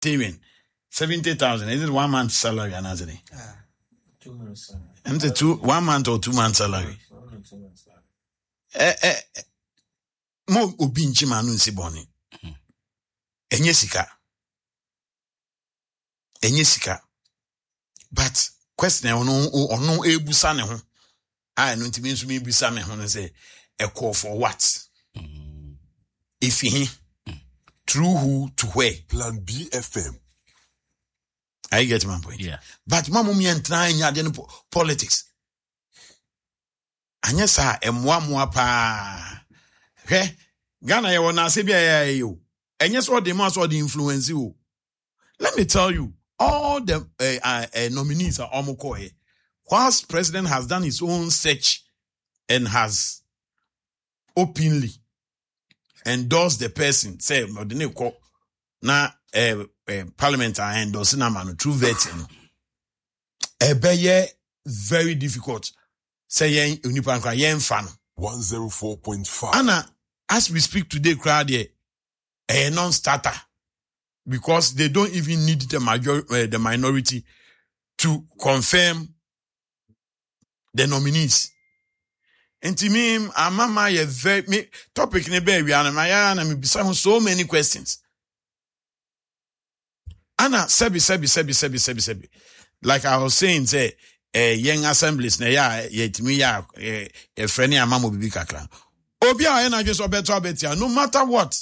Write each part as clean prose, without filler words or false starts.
Parliamentarian 70,000, is it one month salary anaasɛ dɛn? Ɛm sɛ two, 1 month or 2 month salary. Ɛ ɛ mo obi nkyi ma no nsi bɔne. Ɛnyɛ sika. Ɛnyɛ sika. But question a ɔno ɔno ebusa ne ho a ɛno nti mi nso mi bisa me ho no sɛ, ɛkɔɔ for what? Efi he? Through who to where? Plan BFM. Are you getting my point? Yeah. But mo a mo yɛ ntena nya adeɛ no politics. Anyɛ saa, ɛmmoa mmoa paa. Hwɛ, Ghana yɛwɔ naase bi a ɛyɛ ayɛ o. Ɛnyɛ sɛ ɔde mu a sɛ ɔde influence o. Let me tell you, all the nominees are ɔmo kɔɛ. Whilst president has done his own search and has openly endorsed the person, say ɔde ne kɔ na parliament a endorse na ma no through vetting no. Ɛbɛyɛ very difficult sɛ yɛn onipa nkora yɛnfa no. 104.5. Ana as we speak today koraa deɛ, ɛyɛ non-starter because they don't even need the minority to confirm the nominees. Nti me ama ma yɛ very me topic ne bɛɛ wia no ma yɛ na me bisa ho so many questions. Ana sɛbi sɛbi sɛbi sɛbi sɛbi sɛbi, like I was saying sɛ yɛn assemblies na ɛyɛ a yɛtumi yɛ a yɛfrɛ ne ama mo bibi kakra. Obi a ɔyɛ n'adwene sɛ ɔbɛto abɛtia no matter what.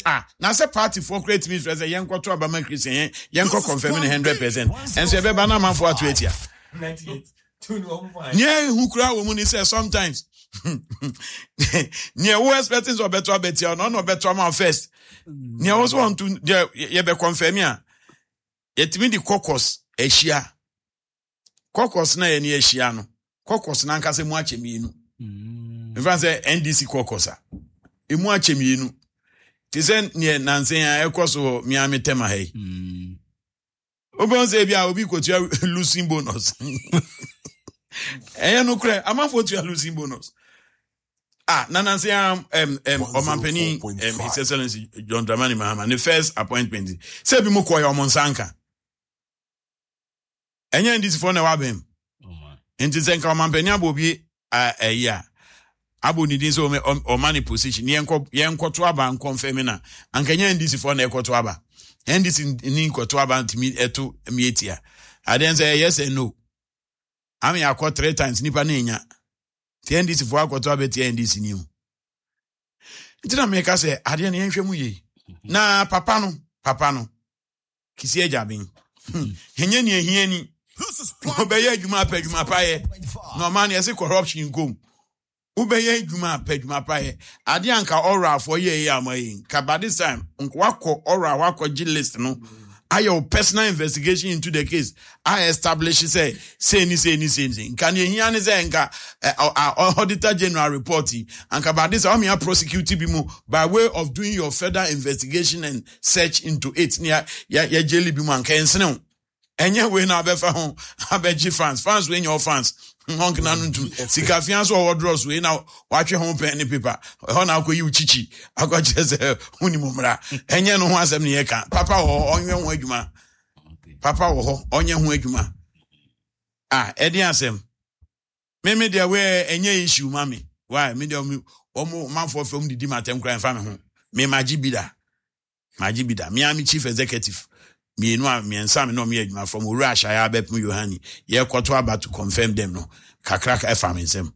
Ah, na sɛ party foɔ kura tumi sɛ yɛn kɔto abama Christian, yɛn kɔ confirm ne 100%, ɛnso yɛbɛba na amanfoɔ ato atia. Nea ehu kura wɔ mu ni sɛ sometimes nea wo expecting sɛ ɔbɛto abɛtia no, ɔno ɔbɛto ama wo first. Nea wo so ɔnto deɛ yɛbɛ confirm a, yɛtumi de caucus ahyia. Caucus na yɛne ahyia no, caucus n'ankasa mu akyɛ mmienu. Nfa sɛ NDC caucus a emu akyɛ mmienu te sɛ neɛ nansen a ɛkɔ so wɔ Miami tɛma ha yi. Wobɛhu sɛ ebi a obi kɔtua losing bonus. Ɛyɛ nokorɛ, amanfoɔ tua losing bonus. Ah, na nansen a ɔmampanin His Excellency John Dramani Mahama ne first appointment sɛ ebi mu kɔɛ ɔmo nsa nka. Ɛnyɛ NDC foɔ na ɛwɔ abɛn mu. Nti sɛ nka ɔmampanin abɔ obi ɛyi a abɔ ne din sɛ ɔma ne position, yɛnkɔ yɛnkɔto aba nkɔnfɛm na anka nyɛ NDC foɔ na ɛkɔto aba. NDC ni nkɔto aba ntumi ɛto mietia adeɛ sɛ ɛyɛ sɛ no ame akɔ three times nipa na enya ti NDC foɔ akɔto aba tia NDC ni o. Nti na meka sɛ adeɛ no yɛnhwɛ mu yie na papa no Kissi Agyebeng ɛnyɛ nea ehia ni ɔbɛyɛ adwuma apɛ adwuma pa yɛ na ɔma no yɛsɛ corruption nkom. Wobɛyɛ adwuma apɛ adwuma pa yɛ adeɛ anka ɔrɔ afɔ yɛ yɛ ama yi nka by this time nka wakɔ ɔrɔ a wakɔgye list no ayɛ wo personal investigation into the case a establish sɛ sei ni sei ni sei ni sei. Nka nea ehia ne sɛ nka Auditor General report yi anka by this time ɔmea prosecute bi mu by way of doing your further investigation and search into it ne yɛ yɛ jail bi mu anka ɛnsene wo. Ɛnyɛ wei na abɛfa ho abɛgye fans wei nyɛ fans ɔnkena no ntum sika fia so ɔwɔ drɔs wei na watwe ho pɛn ne paper ɛhɔ na akɔyi wo kyikyi akɔkyerɛ sɛ wonim mmara. Ɛnyɛ no ho asɛm ne yɛka. Papa wɔ hɔ, ɔnyɛ ho adwuma. Papa wɔ hɔ, ɔnyɛ ho adwuma a ɛde asɛm. Me deɛ wei ɛnyɛ issue ma me. Why me deɛ ɔmo manfoɔ fɛm didi ma atɛm koraa ɛmfa me ho. Me magye bi da, magye bi da. Me a me chief executive mmienu a mmiɛnsa me na ɔmo yɛ adwuma from Owura Ahyaya abɛpem Yohani yɛkɔto aba to confirm them no, kakra ɛfa me nsam.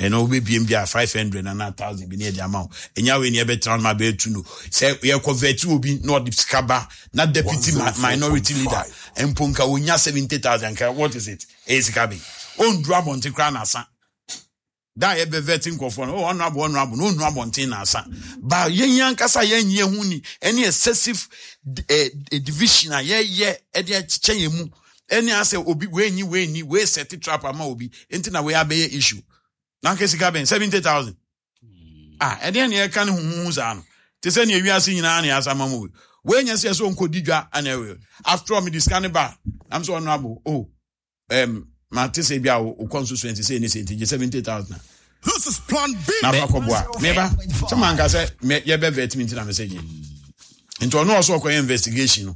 Ɛna wobɛbiem bi a 500 ana 1000 bi ne ɛde ama wo. Ɛnya wei ne ɛbɛtena no ma bɛɛtu no sɛ yɛkɔ vet obi na ɔde sika ba na deputy minority leader mpo nka wonya 70,000 nka what is it? Ɛyɛ sika bɛyi ɔnduru abɔnten koraa na asa da a yɛbɛ vet nkɔfoɔ no, ɔno abo ɔno abo na ɔnnu abɔnten na asa ba. Yɛn ankasa yɛnyɛ ho ni ɛne excessive division a yɛyɛ ɛde akyekyɛ yɛn mu ɛne asɛ obi wei nyi wei nyi wei set trap ama obi nti na wei abɛyɛ issue na nka sika bɛn 70,000 ah, ɛdeɛ ne yɛka ne huhuhu saa no te sɛ nea ewiase nyinaa ne asa ma mu wei nyɛ sɛ ɛsɛ ɔnkɔdi dwa ana ɛwɛ. After all, mede sika ne ba nam sɛ ɔno abo oh mate sɛ bi a wo constituency sɛ ne sɛ nti gye 70,000 This is Plan B. Na fa kɔboa meba sɛ manka sɛ yɛbɛ vet mi nti na mesɛ gye. Nti ɔno ɔsɛ ɔkɔyɛ investigation no.